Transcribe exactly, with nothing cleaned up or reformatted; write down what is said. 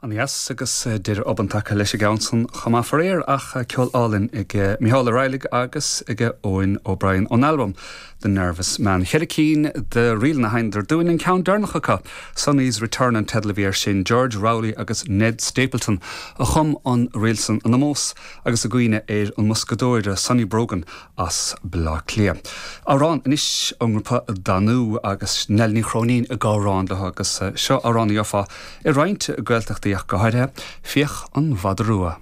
An-dheas agus deireadh obann tagtha leis an gceann san chomh maith faraor ach ceol álainn ag Micheál Ó Raghallaigh agus ag Eoin O'Brien ón albam The Nervous Man. Ceithre cinn de ríleanna a sheinneadar dúinn an ceann deireanach acu. Sonny's Return an teideal a bhí air sin George Rowley agus Ned Stapleton a chum an ríl san in ómós agus i gcuimhne ar an mboscadóir Sonny Brogan as Bleá Cliath. Amhrán anois ón ngrúpa Danú agus Nell Ní Chróinín ag amhrán leo agus seo amhrán a gheofá i roinnt Gaeltachtaí ach go háirithe Fiach an Mhadra Rua.